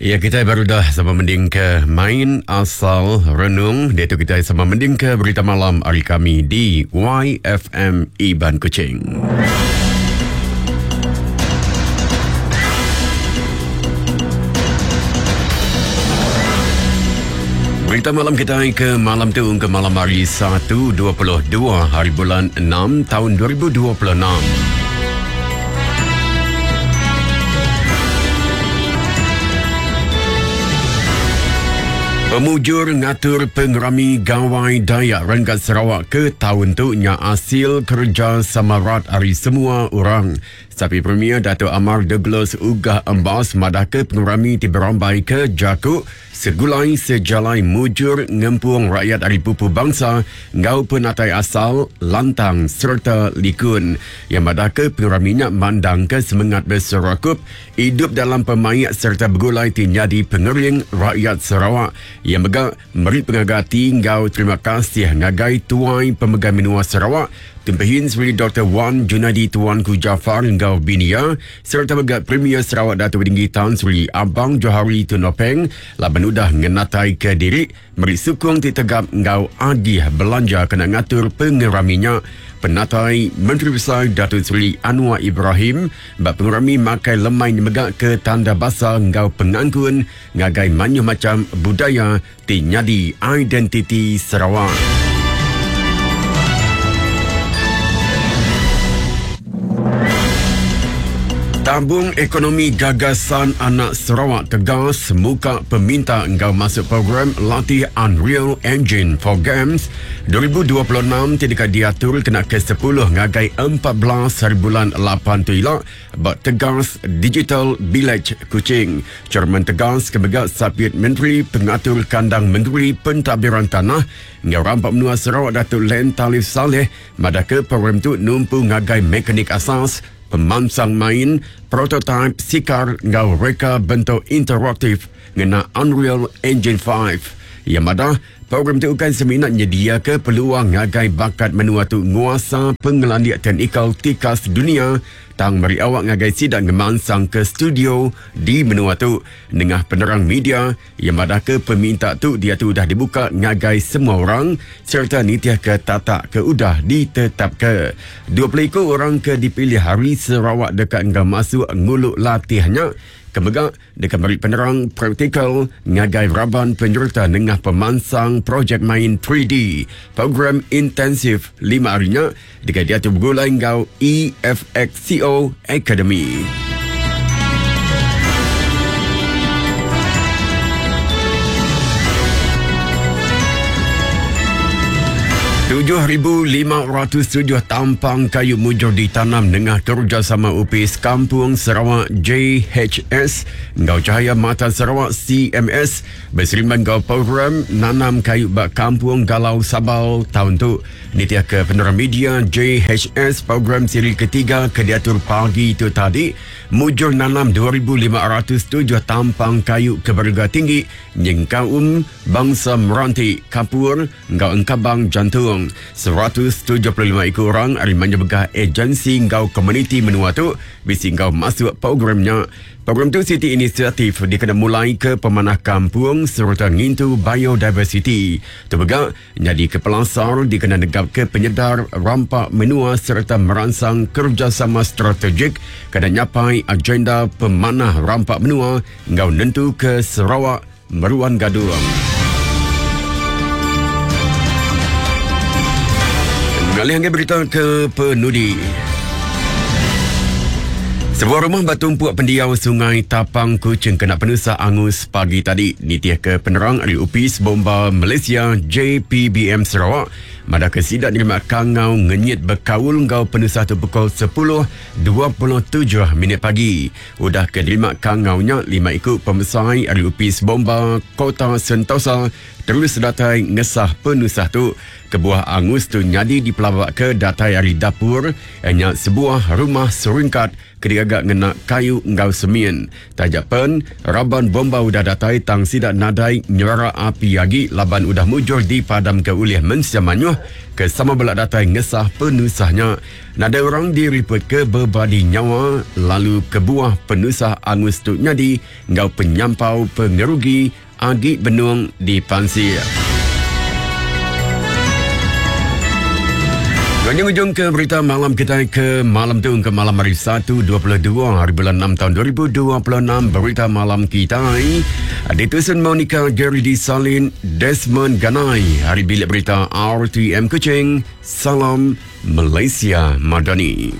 Ya kitai baru dah sama mending ke main asal renung. Diatu kitai sama mending ke berita malam ari kami di YFM Iban Kuching. Berita malam kitai ke malam tu ke malam hari 1 22 hari bulan 6 tahun 2026. Pemujur ngatur pengerami Gawai Dayak Renggat Sarawak ke taun tu nya asil kerja sama rat ari semua orang. Sapi Premier Datuk Amar Douglas Uggah Embas madahka pengerami ti berambai ke jaku Segulai sejalai mujur ngempung rakyat ari pupu bansa enggau penatai asal, lantang sereta likun. Iya madahka pengerami nya mandangka semengat beserakup, idup dalam pemaik sereta begulai ti nyadi pengering rakyat Sarawak. Iya mega meri pengaga ati enggau terima kasih ngagai Tuai Pemegai Menua Sarawak, Tun Pehin Sri Doktor Wan Junaidi Tuanku Jaafar enggau bini iya, sereta mega Premier Sarawak Datuk Patinggi Tan Sri Abang Johari Tun Openg laban udah ngenataika diri meri sukung ti tegap enggau agih belanja kena ngatur pengerami nya. Penatai Menteri Besai Datuk Seri Anwar Ibrahim ba pengerami makai lemai nya mega ke tanda basa enggau pengangkun ngagai mayuh macham budaya ti nyadi identiti Sarawak. Tabung Ekonomi Gagasan Anak Sarawak tegas muka peminta enggau masuk program latih Unreal Engine for Games 2026 ti deka diatur kena ke 10 ngagai 14 hari bulan 8 tu ila Ba Tegas Digital Village, Kuching, Chairman Tegas ke mega Sapit Menteri Pengatur Kandang Mengeri Pentadbiran Tanah enggau Rampa Menua Sarawak Datuk Len Talif Salleh madahka program tu numpu ngagai mekanik asas, pemansang main, prototaip sikar enggau reka bentuk interaktif ngena Unreal Engine 5. Iya madah, Program tu ukai semina nyediaka peluang ngagai bakat menua tu nguasa pengelandik teknikal tikas dunia tang meri awak ngagai sida ngemansangka studio di menua tu. Nengah penerang media, iya madahka peminta tu diatu udah dibuka ngagai semua orang sereta nitihka tatak ke udah ditetapka. 20 iku orang ke dipilih ari Sarawak deka enggau masuk ngulu latih nya ke mega deka meri penerang praktikal ngagai raban penyereta nengah pemansang projek main 3D. Program intensif lima hari nya deka diatur begulai enggau EFXCO Academy. 7,507 tampang kayu mujur ditanam nengah kerejasama Opis Kampung Sarawak JHS enggau Cahaya Mata Sarawak CMS beserimban enggau program nanam kayu ba Kampung Galau Sabal taun tu. Nitihka penerang media JHS, program siri ketiga ke diatur pagi tu tadi mujur nanam 2,507 tampang kayu ke berega tinggi nyengkaum Bangsa Meranti, Kapur enggau Engkabang Jantung. 175 iku orang ari mayuh begah ejensi enggau komuniti menua tu bisi enggau masuk program nya. Program tu siti inisiatif dikena mulaika pemanah kampung sereta ngintu biodiversiti. Tu mega nyadika pelasar dikena negapka penyedar rampa menua sereta meransang kerejasama strategik kena nyapai agenda pemanah rampa menua enggau nentuka Sarawak Meruan gadung. Ngalih ngagai berita ke penudi. Sebuah rumah ba tumpuk pendiau Sungai Tapang Kuching kena penusah angus pagi tadi. Nitihka penerang ari Opis Bomba Malaysia JPBM Sarawak, madahka sida nerima kangau ngenyit bekaul enggau penusah tu pukul 10.27 minit pagi. Udah ke nerima kangau nya, lima iku pemesai ari Opis Bomba Kota Sentosa terus datai ngesah penusah tu. Kebuah angus tu nyadi dipelabaka datai ari dapur nya sebuah rumah seringkat ke digaga ngena kayu enggau semin. Taja pen, raban bomba udah datai tang sida nadai nyerara api agi laban udah mujur dipadamka ulih mensia mayuh. Mukah ke sama bela datai ngesah penusah nya. Nadai orang diripotka bebadi nyawa lalu kebuah penusah angus tu nyadi enggau penyampau pengerugi agi benung dipansik. Ngujung ujung ke berita malam kita ke malam tu ke malam hari 1 22 hari bulan 6 tahun 2026 berita malam kita ditusun Monica Gary di Salin Desmond Ganai hari bilik berita RTM Kuching Salam Malaysia Madani.